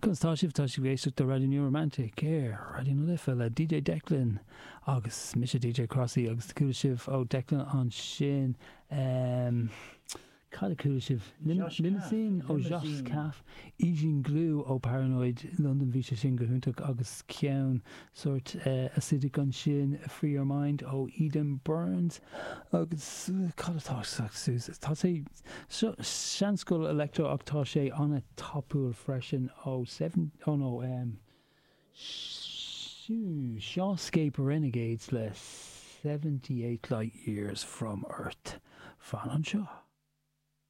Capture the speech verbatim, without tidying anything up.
Conas tá sibh? Tá sibh ag éisteacht le Raidió New Romantic ar Raidió na Life le D J Declan agus mise D J Crossy agus chuala sibh ó Declan ansin um, Cad a chuala sibh? Josh Limousine ó Limousine. Josh Caffe, Asian Glue ó Paranoid London, bhí sé sin go hiontach, agus ceann sort uh, acidic ansin, Free Your Mind ó Eden Burns. Agus uh, cad atá suas, tá sé seanscoil electro ach tá sé an-tapúil freisin ó seven, oh no, um, Shawscape Renegades le seventy-eight Light Years from Earth. Fan anseo.